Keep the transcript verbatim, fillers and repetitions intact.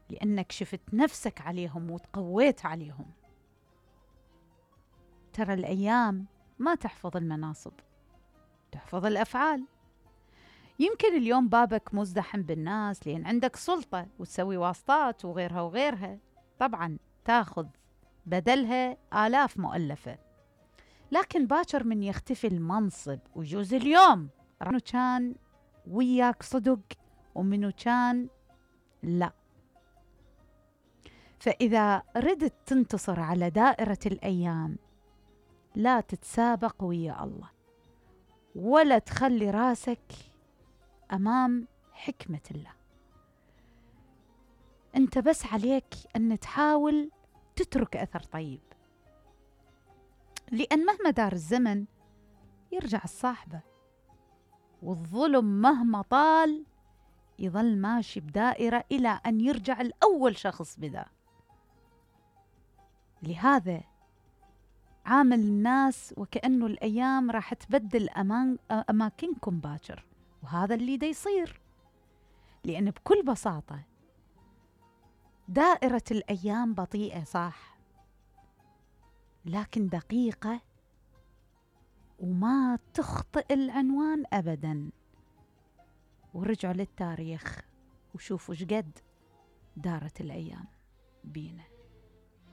لأنك شفت نفسك عليهم وتقويت عليهم. ترى الأيام ما تحفظ المناصب، تحفظ الأفعال. يمكن اليوم بابك مزدحم بالناس لأن عندك سلطة وتسوي واسطات وغيرها وغيرها، طبعا تاخذ بدلها آلاف مؤلفة. لكن باكر من يختفي المنصب ويجوز اليوم منو كان وياك صدق ومنو كان لا. فإذا ردت تنتصر على دائرة الأيام لا تتسابق ويا الله، ولا تخلي راسك أمام حكمة الله. أنت بس عليك أن تحاول تترك أثر طيب، لأن مهما دار الزمن يرجع الصاحبة، والظلم مهما طال يظل ماشي بدائرة إلى أن يرجع الأول شخص بدا. لهذا عامل الناس وكأنه الأيام راح تبدل أمان أماكنكم باكر، وهذا اللي دا يصير. لأن بكل بساطة دائرة الأيام بطيئة صح، لكن دقيقة وما تخطئ العنوان أبدا. ورجعوا للتاريخ وشوفوا شقد دارت الأيام بينا.